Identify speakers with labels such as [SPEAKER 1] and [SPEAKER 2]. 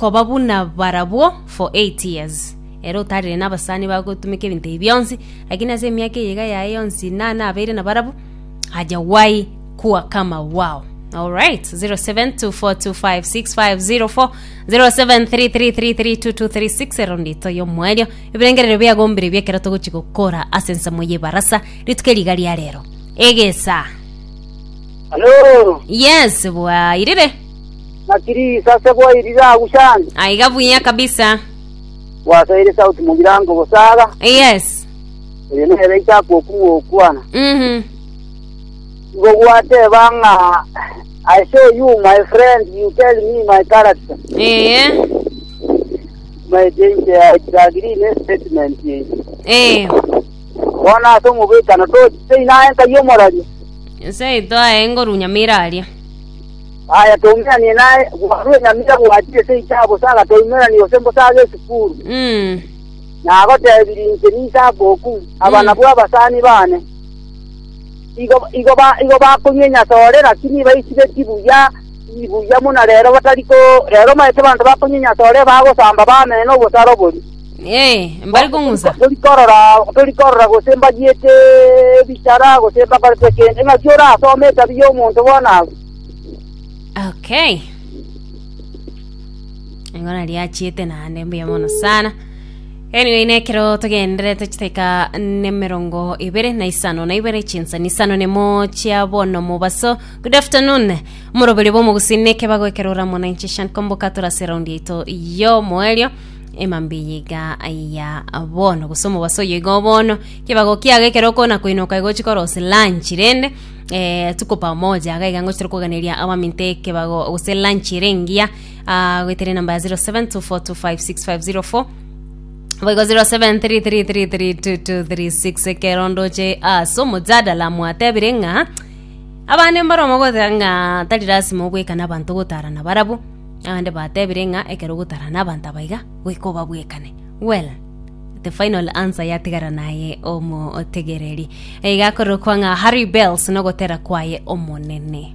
[SPEAKER 1] koba buna barabwo for 8 years. Ere otarire na abasani bagotumeka ebinto ebi bionsi, lakini ase emiaka eye iga yaye yonsi na nabeire nabarabwo, hajawahi kuwa kama wao. Alright, 0724256504 0733332236 ero ndito y'omwerio ebirengererio biagombire biekero togochi gokora ase ensemo y'ebarasa rituko eriga ria rero egesa
[SPEAKER 2] Halo,
[SPEAKER 1] yes bwairire
[SPEAKER 2] naki risase bwairire agwo shani?
[SPEAKER 1] Aiga buya kabisa.
[SPEAKER 2] Gwasoire sauti mogirango bosaga.
[SPEAKER 1] Yes.
[SPEAKER 2] Oyo nere Isaka okumwa okwana.
[SPEAKER 1] Mhm.
[SPEAKER 2] Igo gwateba ng'a I show you my friend, you tell me my character.
[SPEAKER 1] Eh.
[SPEAKER 2] My inche I disagree ne statement eye.
[SPEAKER 1] Eh.
[SPEAKER 2] Bono ase omobwekano tochise inaye nkai omoraria.
[SPEAKER 1] Seito aye ngoru nyamira aria.
[SPEAKER 2] Aya toumeranie naye, bwarue nyamira gwachire seito abosaga, toumeranie gose mbosaga esukuru.
[SPEAKER 1] Mm.
[SPEAKER 2] Nagotebirie inche n'Isaka okwo, aba nabwo abasani bane. Igo, igo, ba, igo bakonywa enyasore, lakini baisibeti buya, buya buna rero batari ko, rero omanyete abanto bakonywa enyasore bagosamba bamena obosaro boria.
[SPEAKER 1] Eh, mbari kong'usa.
[SPEAKER 2] Tori korora, tori korora gose mbayiete ebichara gose mbakorete kende. Ng'aki orasome etabi y'omonto bono agwo?
[SPEAKER 1] Okay. Igo nari achiete naende mbuya mono sana. Anyway, nekero togenderete chiteka nemerongo ibere na isano na ibere chinsa ni isano nemo chia bono mobaso. Good afternoon. Omoroberi bw'omogusii nekebago ekero ora mwananchi Shan Komboka torase raundi yaito y'omoerio. Emambia eye iga ya bono gose omobaso oyo iga obono kebago kiago ekero okona koinoka igo ochi korosia lunch rende eh, tuko pamoja iga iga ngochire koganeria abaminto ekebago gose lunch ere engiya ah, goetera enamba ya 0724256504 boigo 0733332236 ekero ndoche ase omojadala mwatebire ng'a abande mbare omogoteba ng'a tari lasima obwekane abanto gotara nabarabwo Abande batebire ng'a ekero ogotara nabanto aba iga, goika obabwekane. Well, the final answer yatigara naye omotegereri. Iga akorokwa ng'a Harry Bells nogotera kwaye omonene.